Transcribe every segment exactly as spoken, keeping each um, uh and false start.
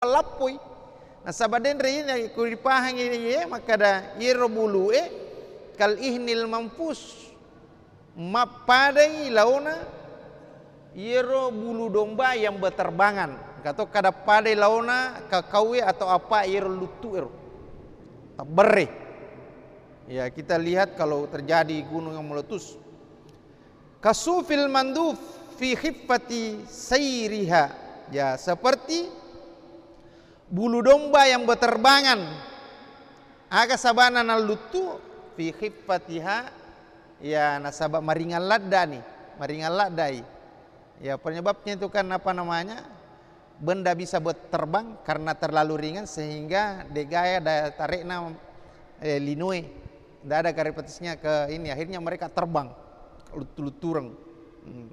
lappoi. Nasaba denre ini ku ripahangi ye makkada iyaro bulu'e kal ihnil manfus, mappadai laona iyaro bulu domba yang berterbangan. Engka to kada padai laona kakauwe atau apa iyaro luttu ero. Tabberre. Ya, kita lihat kalau terjadi gunung yang meletus. Kasufil manduf fi khiffati sairiha. Ya, seperti bulu domba yang berterbangan. Aga sabana nalluttu fi khiffatiha, ya, nasaba maringan laddani, maringan laddai. Ya, penyebabnya itu kan apa namanya? Benda bisa berterbang karena terlalu ringan sehingga degaya daya tarikna, eh, linoe. Ndak ada gravitasinya ke ini, akhirnya mereka terbang, luttu-luttureng. Hmm.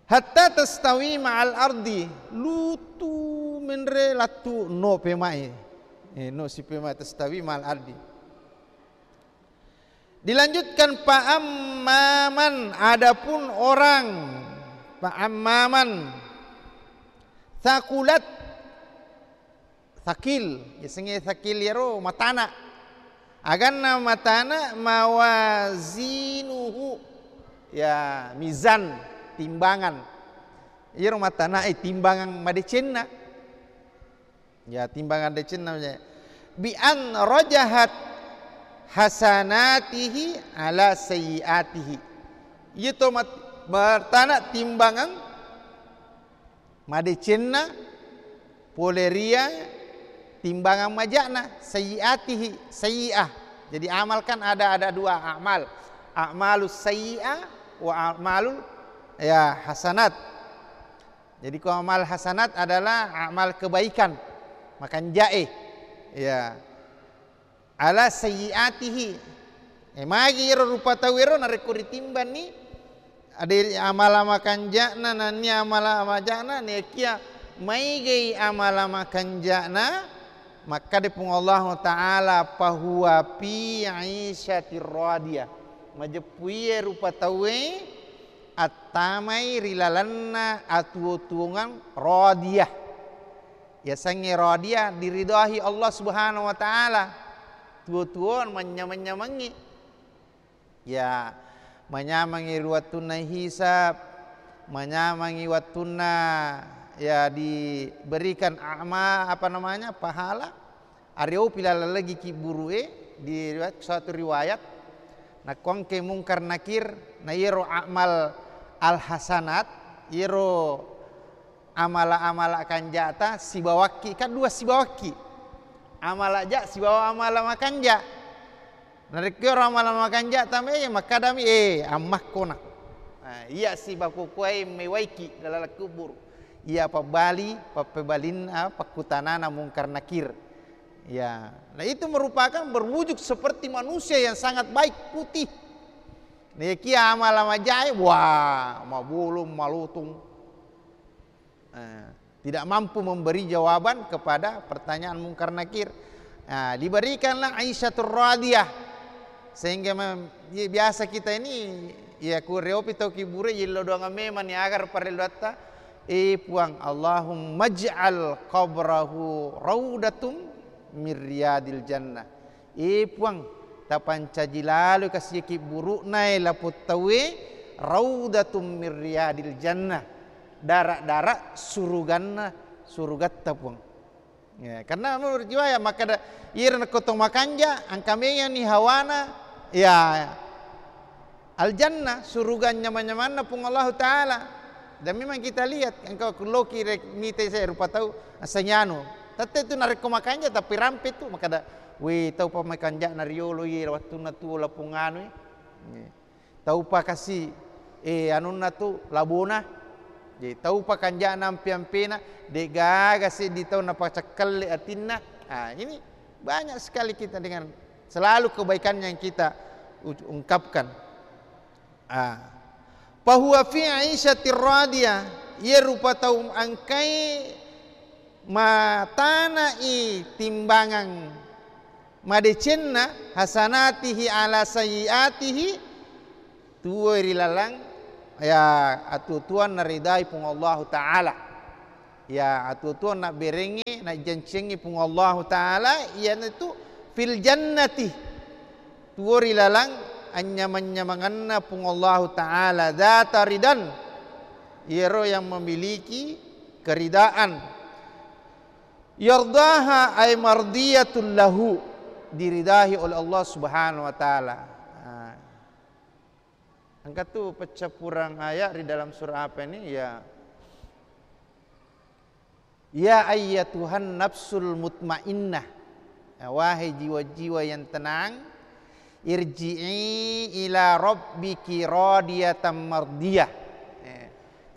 Hatta tastawi ma'al ardi, luttu menre lattu no pemai. Eh, no si pemai tastawi ma'al ardi. Dilanjutkan, fa ammaman, adapun orang, fa ammaman thaqulat, thaqil, yasengnge thaqil iyaro matana. Aganna matana mawazinuhu, ya, mizan, timbangan. Iyaro matana, eh, timbangan madecenna. Ya, timbangan decenna, ya. Bi an rajahat hasanatihi ala sayyiatihi. Iya to mat-, matana timbangan madecenna pole ria timbangan maja'na, sayyiatihi, sayyi'ah. Jadi amal kan ada, ada dua amal. A'malus sayyi'ah wa a'malul, ya, hasanat. Jadi ko amal hasanat adalah amal kebaikan, makanja'e. Ya. Ala sayyiatihi. Eh, magi ero rupa tau ero narekko ritimbanni, ada amala makanja'na, nennia amala maja'na, nekia maigei amala makanja'na, makkada Puang Allahu Ta'ala, "Fahuwa fi 'isyatir radiyah." Majeppu iye rupa tauwe attamai ri lalenna atuwo-tuwongang radiyah. Yasengnge radiyah diridahi Allah Subhanahu wa Ta'ala. Tuwo-tuwo manyameng-nyamengngi. Ya, manyamangngi ri wettunna hisab, manyamangngi wettunna, ya, diberikan ama-, apa namanya, pahala. Areopi laleng lagi kibburu'e, di riwayat, suatu riwayat, nakkuangke Mungkar Nakir, na iyaro amal al-hasanat, iyaro amala-amala kanja'ta sibawakki, kan dua sibawakki. Amala ja sibawa amala makanja. Narekko ero amala makanja tamai, makkadami, "Eh, ammakko na." Nah, iya sibakukuai mewaiki dalam kubur. Iya pabbali, pappebalinna, pakkutanana Mungkar Nakir. Ya, nah itu merupakan berwujud seperti manusia yang sangat baik, putih. Nekia amala majae, wah, mabolong, malotung. Eh, tidak mampu memberi jawaban kepada pertanyaan Mungkar Nakir. Nah, diberikanlah Aisyatur Radiyah. Sehingga mem-, ya, biasa kita ini, ya, ku reopi tau kibure, yello doang memang ni agar parelluatta. Eh, Puang, Allahumma ij'al qabrahu raudatum min riyadil jannah. Eh, Puang, tapancaji laloi kasi kibburu'na e lapong tauwe, raudatum min riyadil jannah, dara-dara suruganna, surugatta, Puang. Ya, karena menurut riwayat makkada, iyaro nakko to makanja, engka mengani hawana, ya, al-jannah, suruga nyamang-nyamanna Puang Allahu Ta'ala. Dan memang kita lihat, engka ku loki rek-, mite saya rupa tau, assangi anu. Tette tu narekko makanja, tapi rampe tu, makkada, "We, tau pa makanja'na riolo, ye, wattunna tuo lapong anu, eh." Tau pa kasi, eh, anunna tu, labona. Jadi, tau pa kanja'na ampe-ampena, de gaga seddi tau napacakkelle atinna. Ah, ini banyak sekali kita dengan selalu kebaikan yang kita u-, ungkapkan. Ah. Fahuwa fi 'isyatir radiyah, iye rupa tau engkai matana'i timbangan madecenna, hasanatihi ala sayyiatihi, tuwoi ri laleng, ya, atuo-tuoang naridai Puang Allahu Ta'ala. Ya, atuo-tuo nabberengngi, najjanciangngi Puang Allahu Ta'ala, iyanatu fil jannati. Tuo ri laleng anyamang-nyamangenna Puang Allahu Ta'ala, dzata ridan. Iyaro yang memiliki keridaan. Yardaha ay mardiyatul lahu, diridahi oleh Allah Subhanahu wa Ta'ala. Nah. Engka tu peccappurang ayat ri dalam surah apa ini? Ya. Ya ayyatuhan nafsul mutmainnah. Ya, wahai jiwa-jiwa yang tenang, irji'i ila rabbiki radiyatan mardiyah. Eh,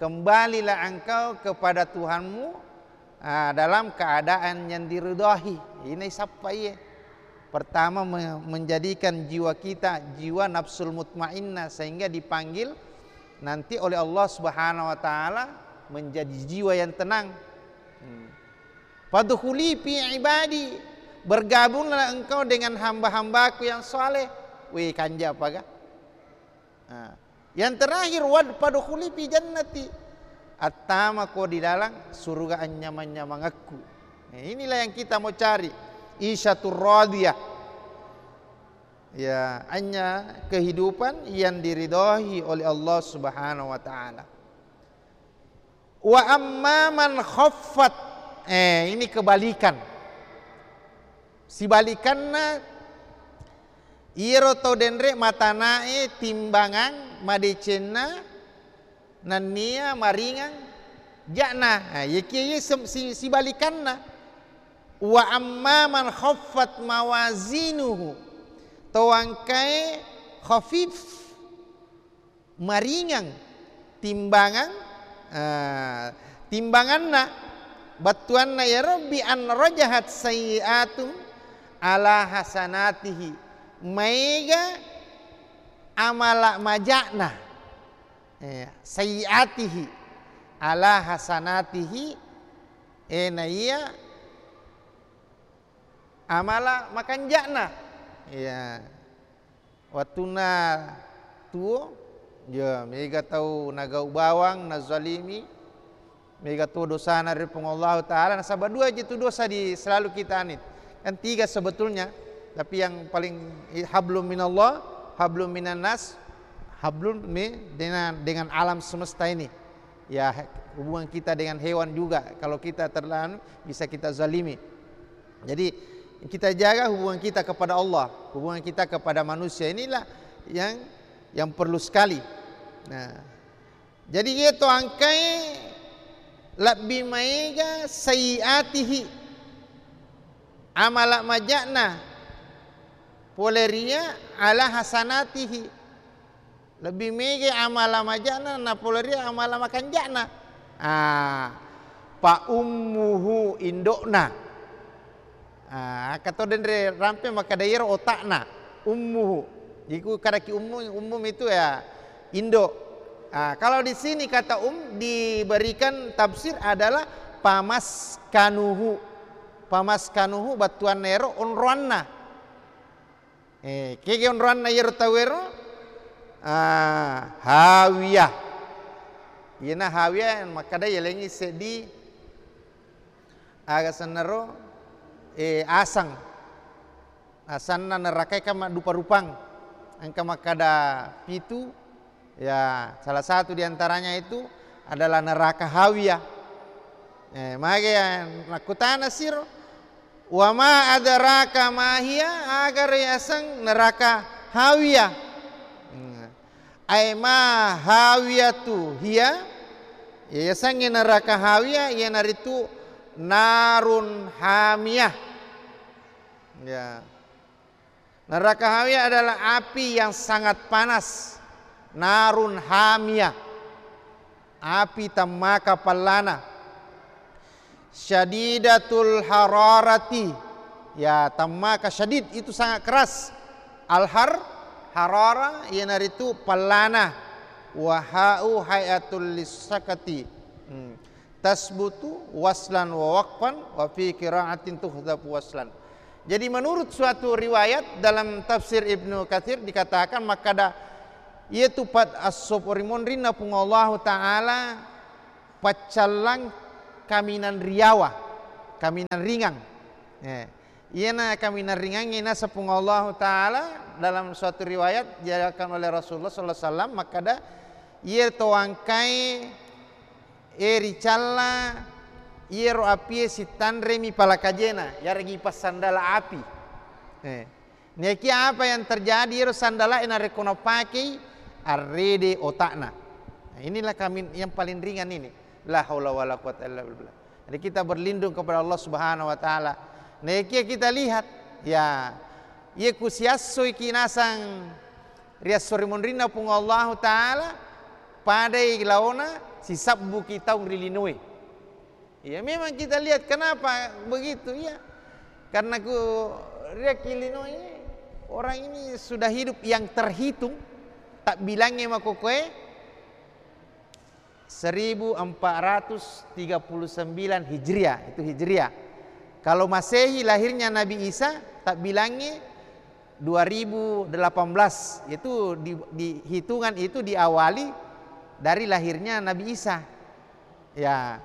kembalilah engkau kepada Tuhanmu, ah, dalam keadaan yang diridhai. Ini sappa iye. Pertama, me-, menjadikan jiwa kita jiwa nafsul mutmainnah, sehingga dipanggil nanti oleh Allah Subhanahu wa Ta'ala menjadi jiwa yang tenang. Hmm. Fadkhuli fi ibadi, bergabunglah engkau dengan hamba-hambaku yang saleh. Wih, kanja apa ga? Nah, yang terakhir, wad fadkhuli fi jannati. Attamako di dalam surga anyamang-nyamangekku. Nah, inilah yang kita mau cari. Isyatur radiyah. Ya, hanya kehidupan yang diridhai oleh Allah Subhanahu wa Ta'ala. Wa amma man khaffat. Eh, ini kebalikan. Sibalikanna, iyaro tau denre matanae timbangang madecenna nennia maringang ja'na. Nah, iyakiya iye sem-, si-, sibalikanna. Wa amma man khaffat mawazinuhu. Tau engkae khafif, maringang timbangang, eh, timbanganna, battuanna iyaro bi an rajahat sayyi'atu ala hasanatihi, maega amala maja'na, eh, sayyi'atihi ala hasanatihi, eh, na iya amala makanja'na. Iya. Wettunna tuo, ya, mega tau nagau bawang, nazalimi, mega tuo dosana ri Puang Allahu Ta'ala. Nasaba dua aja tu dosa di selalu kita anit. Kan tiga sebetulnya, tapi yang paling, eh, hablum minallah, hablum minannas, hablum mi-, dengan, dengan alam semesta ini. Ya, hubungan kita dengan hewan juga. Kalau kita terlalu, bisa kita zalimi. Jadi, kita jaga hubungan kita kepada Allah, hubungan kita kepada manusia. Inilah yang, yang perlu sekali. Nah, jadi, iya to engkae lebbi maega sayyiatihi, amala maja'na, pole ri iya ala hasanatihi. Lebbi mega amala maja'na napolori amala makanja'na. Ah, fa ummuhu, indo'na. Ah, engka to denre rampe makkeda iyaro otakna. Ummuhu. Jadi ku kadaki ummu, ummu itu ya indo. Ah, kalau di sini kata um diberikan tafsir adalah famaskanuhu. Famaskanuhu battuanna ero onroanna. Eh, kege onroanna iyaro tauwero? Ah, hawiyah. Iyana hawiyah makkeda yalengngi seddi aga sennaro, eh, asang. Asanna nerakae kan maddupa-rupang. Engka makkeda pitu, ya, salah satu di antaranya itu adalah neraka hawiyah. Eh, mage ya, makkutana siro, "Wa ma adraka ma hiya?" Aga riaseng neraka hawiyah? Hmm. Ai ma hawiyatu hiya? Ya, yasengnge neraka hawiyah, iyanaritu narun hamiyah. Ya. Neraka hawiyah adalah api yang sangat panas. Narun hamiyah. Api temmaka pallana. Syadidatul hararati. Ya, temmaka syadid itu sangat keras. Al-har, harara, iyanaritu pallana. Wa ha'u hay'atul lisakati. Hmm. Tasbutu waslan wa waqfan wa fi qira'atin tuhdhafu waslan. Jadi, menurut suatu riwayat dalam tafsir Ibnu Katsir dikatakan, makkada, iyatu pat assop ri monrinna Puang Allahu Ta'ala paccallang kaminang riawa, kaminang ringang. Eh, iyana kaminang ringangnge naseng Puang Allahu Ta'ala dalam suatu riwayat diajarkan oleh Rasulullah sallallahu alaihi wasallam, makkada, "Iye to wangkai, e, ricalla, iyero apie sittanremi palakajena, yaregi passandala api." Eh. Nekia apa yang terjadi, ero sandalae narekko napakei, arrede otakna. Nah, inilah kami yang paling ringan ini. La haula wala quwata illa billah. Jadi kita berlindung kepada Allah Subhanahu wa Ta'ala. Nekia kita lihat, ya, iya ku siassoi ki nasang ri esso ri munrinna Puang Allahu Ta'ala, padai laona sisabbuki taung ri linoe. Ya, memang kita lihat kenapa begitu, ya. Karena ku riaki linoe, orang ini sudah hidup yang terhitung, tak bilangnya makokoe seribu empat ratus tiga puluh sembilan Hijriah, itu Hijriah. Kalau Masehi lahirnya Nabi Isa, tak bilangnya dua ribu delapan belas, itu di, di hitungan itu diawali dari lahirnya Nabi Isa. Ya.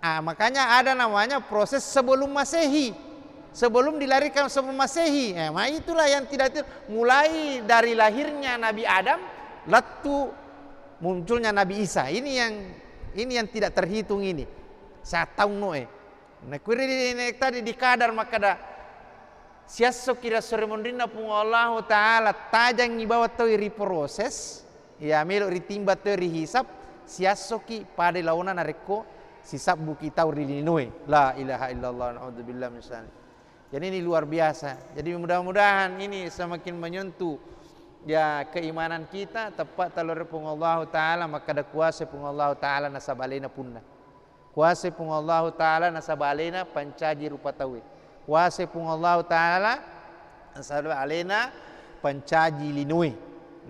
Ah, makanya ada namanya proses sebelum Masehi. Sebelum dilahirkan sebelum Masehi. Eh, ma itulah yang tidak ter-, mulai dari lahirnya Nabi Adam, lettu munculnya Nabi Isa. Ini yang, ini yang tidak terhitung ini. Sataung noe. Nah, kuwi ri-, ri-, tadi dikadar makkada, siassoki ri esso ri munrinna Puang Allahu Ta'ala, tajangngi bawang tau ri proses, ya, melo ritimba tau ri hisab, siassoki pada laona narekko sisabbuki tau ri linoe. La ilaha illallah, naudzubillah min dzalik. Jadi ini luar biasa. Jadi mudah-mudahan ini semakin menyentuh, ya, keimanan kita, tepat talor Puang Allahu Ta'ala, makkada kuasa Puang Allahu Ta'ala nasaba alena punna. Kuasai Puang Allahu Ta'ala nasaba alena pancaji rupa tauwe. Kuasai Puang Allahu Ta'ala nasaba alena pancaji linoe.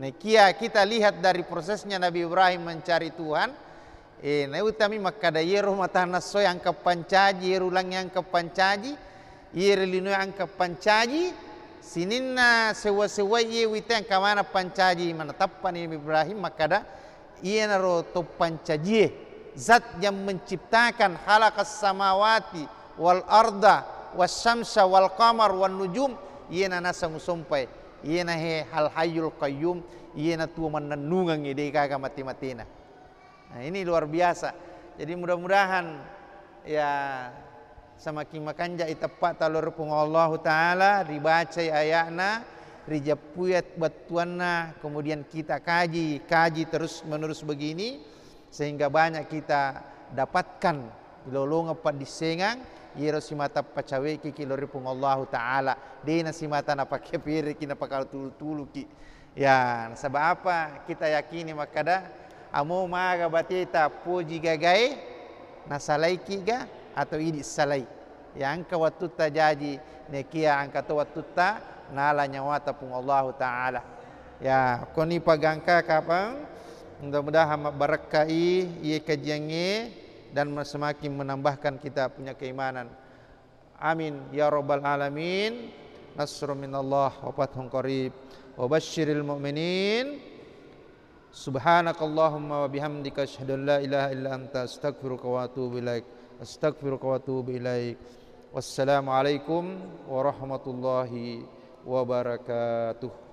Nakia kita lihat dari prosesnya Nabi Ibrahim mencari Tuhan, eh, nautami makkada, iyero mata nassoe engka pancaji, iyero langi engka pancaji, iyero linoe engka pancaji, sininna sewwa-sewwai iye wite engka maneng pancaji, maneng tappani Nabi Ibrahim makkada, Iyanaro to pancajie, Zat yang menciptakan, khalaqas samawati wal arda was syamsa wal qamar wan nujum, iyena naseng usompai, iyena he Al Hayyul Qayyum, iyena tuo mannennungengnge, de gaga mate-matena. Nah, ini luar biasa. Jadi mudah-mudahan, ya, semakin makanjak i teppa talor Puang Allahu Ta'ala, ribacai ayatna, rijeppui battuanna, kemudian kita kaji, kaji terus menerus begini, sehingga banyak kita dapatkan lolongeng paddissengang, iyero simata pacaweki ki lori Puang Allahu Ta'ala, dena simata napake pereki, napakatulu-tuluki. Ya, nasaba apa? Kita yakini makkada, amo maga bateta poji gagae, nasalaiki ga atau idi salai. Ya, engka wattutta jaji, nekia engka to wattutta nala nyawata Puang Allahu Ta'ala. Ya, koni pagangka kapang, mudah-mudahan mabbarakkai iye kajiangnge dan semakin menambahkan kita punya keimanan. Amin ya rabbal alamin. Nasrun minallah wa fathun qarib. Wa basyiril mu'minin. Subhanakallahumma wa bihamdika, asyhadu an la ilaha illa anta, astaghfiruka wa atubu ilaik. Astaghfiruka wa atubu ilaik. Wassalamualaikum warahmatullahi wabarakatuh.